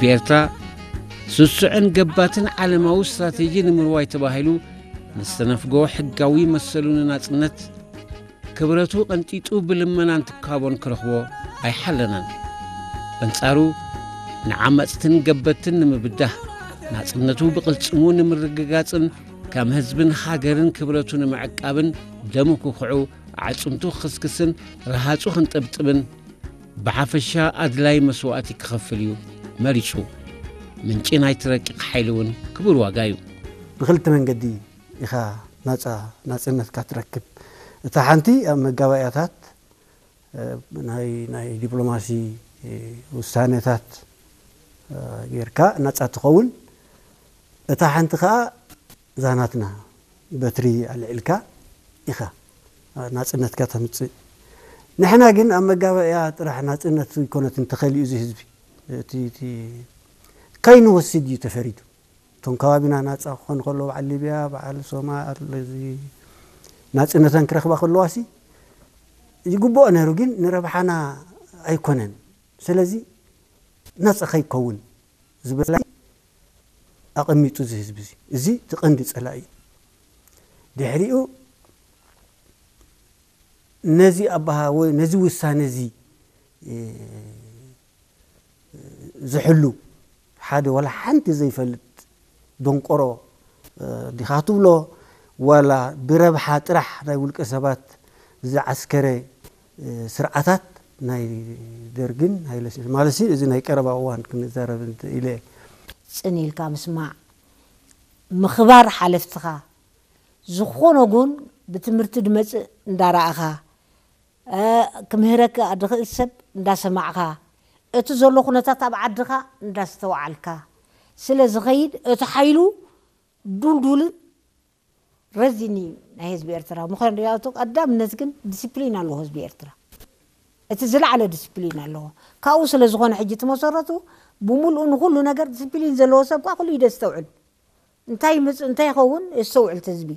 ብኤርትራ ስሱዕን ገባትን ዓለማዊ ስትራቴጂ ንምርዋይ ተባሂሉ ንዝተነፍጎ ሕጋዊ መሰሉ ንናጽነት ክብረቱ ቀንጢጡ ብልመናን ትካቦን ክረኽቦ ኣይሓለናን። በንጻሩ ንዓመጽትን ገበትን ንምብዳህ ናጽነቱ ብቕልጽሙ ንምርግጋጽን ከም ህዝብን ሃገርን ክብረቱ ንምዕቃብን ደሙ ክኹዑ ኣዕጽምቱ ክኽስክስን ረሃጹ ክንጥብጥብን ብሓፈሻ ኣድላይ መስዋእቲ ክኸፍል እዩ መሪጹ። ምንጪ ናይቲ ረቂቕ ሓይሊ እውን ክቡር ዋጋ እዩ። ብክልተ መንገዲ ኢኻ ናጻ ናጽነትካ ትረክብ። እታ ሓንቲ ኣብ መጋባእያታት ናይ ናይ ዲፕሎማሲ ውሳነታት ጌርካ ናጻ ትኸውን። እታ ሓንቲ ከኣ ዛናትና በትሪ ኣልዒልካ ኢኻ ናጽነትካ ተምጽእ። ንሕና ግን ኣብ መጋባእያ ጥራሕ ናጽነት ይኮነትን ተኸሊኡ እዚ ህዝቢ እቲ ካይንወስድ እዩ ተፈሪዱ። እቶም ከባቢና ናጻ ክኾኑ ከለዉ በዓል ሊብያ በዓል ሶማል እዚ ናጽነተን ክረኽባ ከለዋሲ ይግብኦ ነይሩ፣ ግን ንረብሓና ኣይኮነን። ስለዚ ናጻ ከይከውን ዝበላ ኣቐሚጡ እዚ ህዝቢ እዚ እዚ ትቐንዲ ጸላኢ እዩ። ድሕሪኡ ነዚ ኣባሃ ወይ ነዚ ውሳነ እዚ ዝሕሉ ሓደ ዋላ ሓንቲ ዘይፈልጥ ደንቆሮ ዲኻ ትብሎ፣ ዋላ ብረብሓ ጥራሕ ናይ ውልቀ ሰባት ዝዓስከረ ስርዓታት ናይ ደርግን ሃይለስላሴ ማለት እዚ ናይ ቀረባ እዋን ክንዛረብ ኢለ። ጽን ኢልካ ምስማዕ፣ ምኽባር ሓለፍትኻ ዝኾነ ጉን ብትምህርቲ ድመጽእ እንዳረኣኻ፣ ክምህረካ ድኽእል ሰብ እንዳሰማዕኻ፣ እቲ ዘሎ ኩነታት ኣብ ዓድኻ እንዳስተውዓልካ ስለ ዝኸይድ፣ እቲ ሓይሉ ዱልዱልን ረዚን እዩ ናይ ህዝቢ ኤርትራ። ምኽንያቱ ቀዳምነት ግን ዲሲፕሊን ኣለዎ ህዝቢ ኤርትራ። እቲ ዝለዓለ ዲሲፕሊን ኣለዎ። ካብኡ ስለ ዝኾነ ሕጂ እቲ መሰረቱ ብምልኡ ንኹሉ ነገር ዲሲፕሊን ዘለዎ ሰብ ከኣ ኩሉ እዩ ደስተውዕል። እንታይ ይመጽእ እንታይ ይኸውን የስተውዕል እቲ ህዝቢ።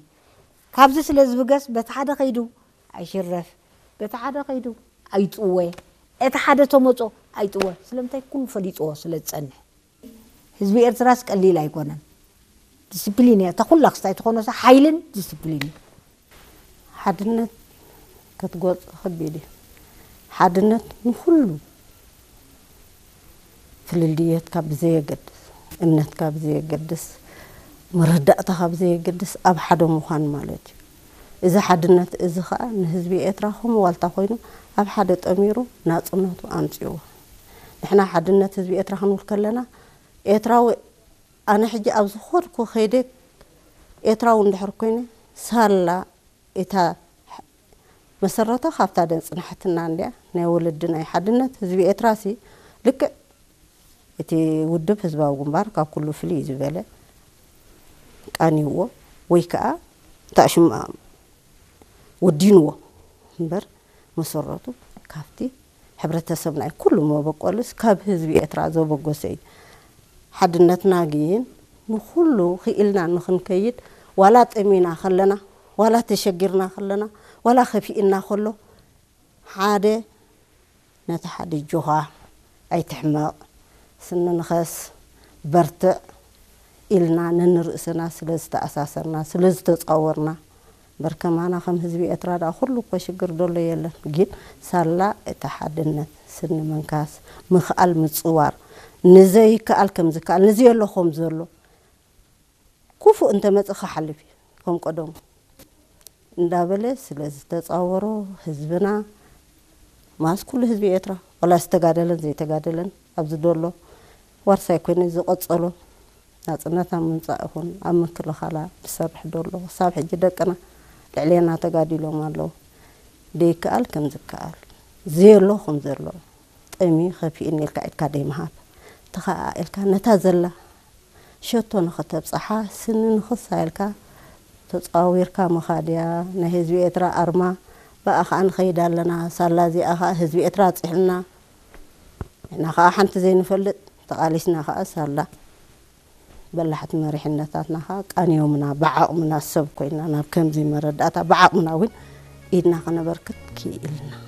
ካብዚ ስለ ዝብገስ በቲ ሓደ ከይዱ ኣይሽረፍ፣ በቲ ሓደ ከይዱ ኣይጥወ፣ እቲ ሓደ ተመጾ ኣይጥወ። ስለምንታይ ኩሉ ፈሊጥዎ ስለ ዝጸንሕ። ህዝቢ ኤርትራስ ቀሊል ኣይኮነን። ዲስፕሊን እያ እታ ኩላ ክስታይ ትኾኖ ሓይልን ዲስፕሊን እዩ። ሓድነት ክትጎጽ ከቢድ እዩ። ሓድነት ንኹሉ ፍልልየትካ ብዘየገድስ፣ እምነትካ ብዘየገድስ፣ መረዳእታኻ ብዘየገድስ ኣብ ሓደ ምዃን ማለት እዩ። እዚ ሓድነት እዚ ኸኣ ንህዝቢ ኤርትራ ከም ዋልታ ኮይኑ ኣብ ሓደ ጠሚሩ ናጽነቱ ኣምጺእዎ። ንሕና ሓድነት ህዝቢ ኤርትራ ክንብል ከለና ኤርትራዊ ኣነ ሕጂ ኣብ ዝኾድኩ ከይደ ኤርትራዊ እንድሕር ኮይነ ሳላ እታ መሰረታ ካብታ ደንጽናሕትና እንድያ ናይ ወለዲ ናይ ሓድነት ህዝቢ ኤርትራ ሲ ልክዕ እቲ ውድብ ህዝባዊ ግንባር ካብ ኩሉ ፍልይ ዝበለ ቃንይዎ ወይ ከዓ እታ ሽም ወዲንዎ እምበር መሰረቱ ካብቲ ሕብረተሰብና እዩ። ኩሉ መበቆልስ ካብ ህዝቢ ኤርትራ ዘበገሰ እዩ። ሓድነትና ግን ንኹሉ ክኢልና ንኽንከይድ ዋላ ጠሚና ከለና ዋላ ተሸጊርና ከለና ዋላ ከፊእና ከሎ ሓደ ነቲ ሓደ ጆኻ ኣይትሕመቕ ስንንኸስ በርትዕ ኢልና ነንርእስና ስለ ዝተኣሳሰርና ስለ ዝተጻወርና በርከማና ከም ህዝቢ ኤርትራ ደኣ ኩሉ እኮ ሽግር ደሎ የለን ግን ሳላ እቲ ሓድነት ስኒ ምንካስ ምኽኣል ምጽዋር ንዘይከኣል ከም ዝከኣል ንዘየሎ ከም ዘሎ ክፉእ እንተመጽእ ክሓልፍ እዩ ከም ቀደሙ እንዳበለ ስለ ዝተጻወሮ ህዝብና ማስ ኩሉ ህዝቢ ኤርትራ ዋላ ዝተጋደለን ዘይተጋደለን ኣብዚ ደሎ ዋርሳይ ኮይኑ ዝቐጸሎ ናጽነት ኣብ ምምጻእ ይኹን ኣብ ምክልኻላ ዝሰርሕ ደሎ ክሳብ ሕጂ ደቅና ልዕሌና ተጋዲሎም ኣለዉ ደይከኣል ከም ዝከኣል ዘየሎ ከም ዘሎ ጠሚ ከፊእኒ ኢልካ ኢድካ ደይምሃብ ተኸኣኢልካ ነታ ዘላ ሸቶ ንኸተብጽሓ ስኒ ንኽሳ ኢልካ ተጻዊርካ ምኻድ እያ ናይ ህዝቢ ኤርትራ ኣርማ ብኣ ኸኣ ንኸይድ ኣለና ሳላ እዚኣ ኸኣ ህዝቢ ኤርትራ ኣጽሒልና ንሕና ኸኣ ሓንቲ ዘይንፈልጥ ተቓሊስና ኸኣ ሳላ በላሕቲ መሪሕነታትና ኸኣ ቃንዮምና ብዓቕምና ሰብ ኮይና ናብ ከምዚ መረዳእታ ብዓቕምና እውን ኢድና ከነበርክት ክኢልና።